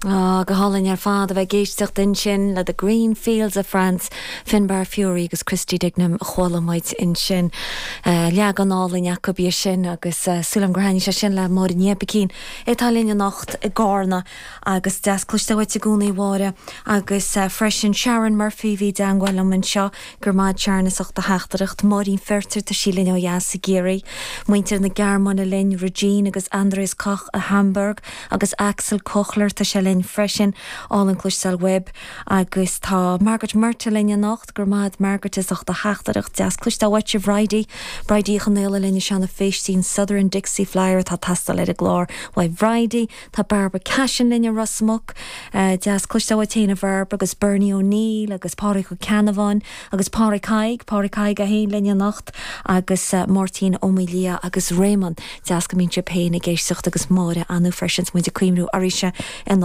Á, go hálainn ar fad a bheith ag éisteacht ansin le The Green Fields of France, Finbar Furey agus Christy Dignam a chuala muid ansin. Leagan álainn acu é sin agus súil agam gur thaitnigh sé sin le Máire Ní Oibicín atá linn anocht i gCarna agus deas cloisteáil uait i gcónaí a Mháire agus freisin Sharon Murphy a bhí i dteangmháil liom anseo. Go raibh maith agat Sharon as ucht do theachtaireacht. Máirín Feirtéar, tá sí linn ó dheas i gCiarraí. Muintir na Gearmáine linn, Regine agus Andreas Koch i Hamburg agus Axel Kochler, tá sé linn freisin. Álainn cloisteáil uaibh. Agus tá Margaret Murtagh linn anocht. Go raibh maith agat Margaret as ucht do theachtaireacht. Deas cloisteáil uait a Bhridie. Bridie Uí Chonaola linn i Seanadh Phéistín Southern Dixie Flyer atá ag teastáil ar an gclár uaidh Bhridie. Tá Barbara Cashin linn i Ros Muc. Deas cloisteáil uait féin a Bhairbre agus Bernie O'Neill agus Pádraig Ó Ceannabháin agus Pádraig Thaidhg, Pádraig Thaidhg é féin linn anocht agus Máirtín Ó Maolaodha agus Réamonn. Deas go mbíonn sibh féin ag éisteacht agus Máire Anu freisin 's muid ag cuimhniú uirthise anocht.